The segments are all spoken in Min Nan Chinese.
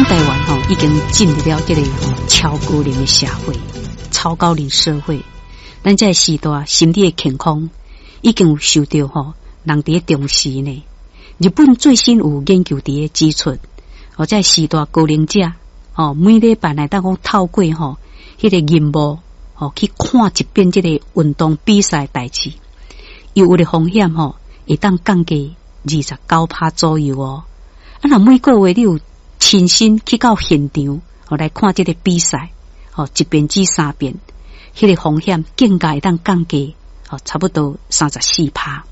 台灣吼已經進入了這個超高齡的社會，超高齡社會。咱這個時代心理的健康已經有受著吼人佇咧重視呢。日本最新有研究佇咧指出，哦，這個時代高齡者吼每禮拜來當講透過吼彼個螢幕吼去看一遍這個運動比賽代誌，憂鬱的風險吼會當降低29趴左右哦。啊，若每個月你有親身去到現場吼來看這個比賽，吼一遍至三遍，彼個風險更加會當降低，吼差不多34趴。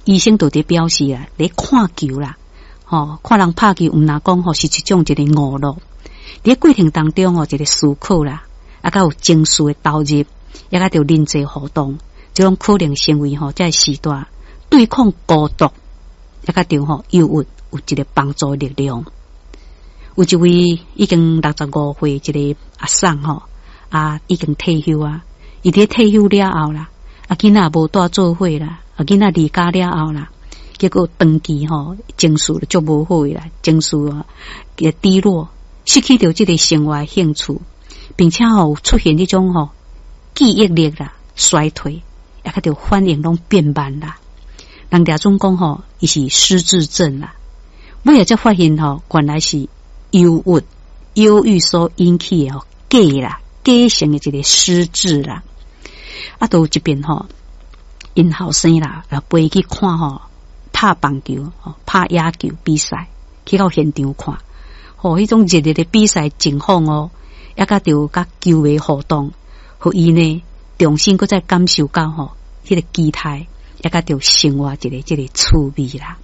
醫生就佇表示啊，咧看球啦，吼看人拍球，毋若講吼是一種一個娛樂。佇過程當中吼，一個思考啦，啊，閣有情緒的投入，也閣著人際互動，這種可能成為吼這個時代對抗孤獨，也閣著吼憂鬱有一個幫助力量。有一位已經65歲一個阿嬸吼，啊，已經退休啊，伊佇退休了後啦，啊，囡仔無蹛做伙啦，啊，囡仔離家了後啦，結果長期吼情緒就足無好的啦，情緒啊低落，失去著這個生活興趣，並且吼出現這種吼記憶力啦衰退，也閣著反應攏變慢啦。人掠準講吼，伊是失智症啦。尾仔才發現吼，原來是憂鬱、憂鬱所引起的吼假啦，假性的一個失智啦。啊，都有一遍吼，𪜶後生啦，陪去看吼拍棒球、吼拍野球比賽，去到現場看，吼，彼種熱烈的比賽情況哦，也閣著佮球迷互動，予伊呢重新閣再感受到吼彼個期待，也閣著生活一個這個趣味啦。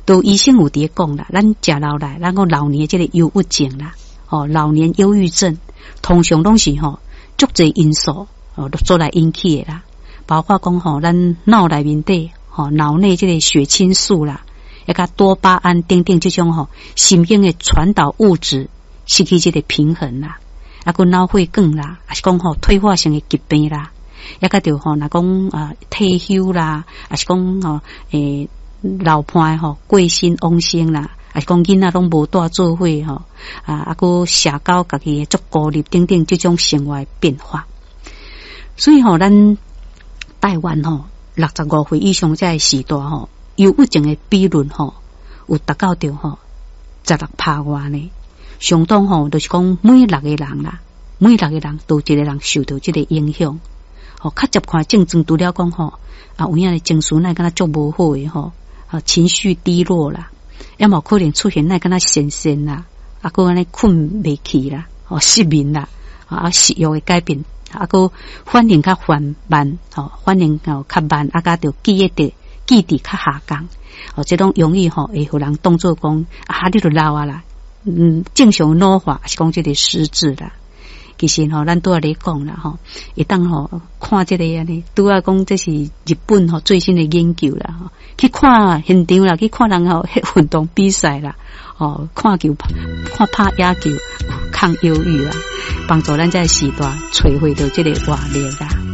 都醫生有佇咧講啦，咱食老來，咱講老年這個憂鬱症啦，吼老年憂鬱症，通常攏是吼足濟因素哦所來引起的啦，包括講吼咱腦內面底吼腦內這個血清素啦，也佮多巴胺等等這種吼神經的傳導物質失去這個平衡啦，啊，閣腦血管啦，抑是講吼退化性的疾病啦，也閣著吼若講啊退休啦，抑是講吼老伴吼過身往生啦，抑是講囡仔攏無蹛做伙吼，啊啊，閣社交家己足孤立等等這種生活變化。所以吼，咱台灣吼65歲以上這個時代吼，憂鬱症的比率吼有達到著吼16趴外呢。相當吼，就是講每六個人啦，每六個人都有一個人受著這個影響。吼，較接近症狀除了講吼，啊有影的情緒哪會感覺足無好的吼。啊，情緒低落啦，也嘛可能出現哪會感覺痫痫啦，啊，閣按呢睏袂去啦，哦，失眠啦，啊，食欲的改變，啊，閣反應較緩慢，吼，反應哦較慢，啊，佮著記憶力記憶力較下降，哦，這攏容易吼會予人當做講啊，你著老啊啦，正常老化是講這個失智啦。其實吼，咱拄仔咧講啦吼，會當吼看這個按呢，拄仔講這是日本吼最新的研究啦吼，去看現場啦，去看人吼運動比賽啦，吼看球看拍野球抗憂鬱啦，幫助咱這個時代揣回著這個活力啦。